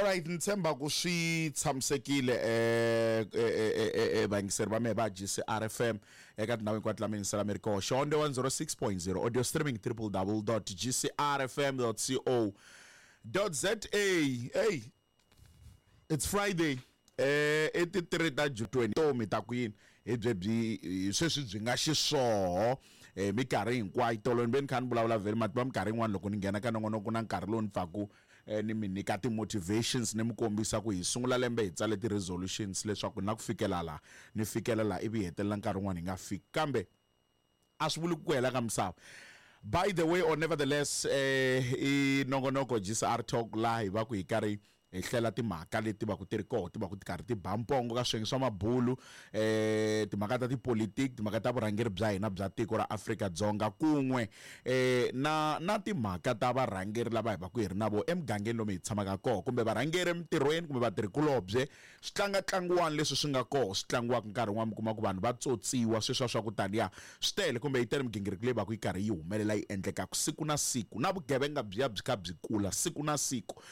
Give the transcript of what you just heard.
Alright, ni tshemba ku swi tshamisekile vayingiseri va mehe va GCR FM eka tindhawu hinkwato la mi yingisela mi ri koho. Xihonde 106.0, audio streaming www.gcrfm.co.za. Hey, it's Friday. I ti 3 ta June 20 tomi ta ku yini hi byebyi hi sweswi byi nga xiswoho minkarhi hinkwayo. Tolo ni ve ni kha ni vulavula vhele mativa minkarhi yin'wana loko ni nghena ka nongonoko na nkarhi lowu ni pfaku ni mi nyika ti-motivations, ni mi kombisa ku hi sungula lembe hi tsale ti-resolutions leswaku na ku fikela laha ni fikela laha, ivi hi hetelela nkarhi wun'wana hi nga fiki, kambe a swi vuli ku hela ka misava. By the way, or nevertheless, i nongonoko GCR Talk, laha hi va ku hi karhi hi hlela timhaka leti va ku ti ri koho, ti va ku ti karhi ti ba mpongo ka swiyenge swa mabulu, timhaka ta tipolitiki, timhaka ta vurhangeri bya hina bya tiko ra Afrika-Dzonga, kun'we na timhaka ta varhangeri lava hi va ku hi ri na vo emugangeni lomu hi tshamaka koho, kumbe varhangeri emitirhweni, kumbe vatirhikulobye. Swi tlanga tlangiwani leswi swi nga koho, swi tlangiwaka nkarhi wun'wana, mi kuma ku vanhu va tsotsiwa sweswiya swa ku taniya swi tele, kumbe yi tele migingiriko leyi va ku yi karhi yi humelela, yi endlekaka siku na siku, na vugevenga byiya byi kha byi kula siku na siku.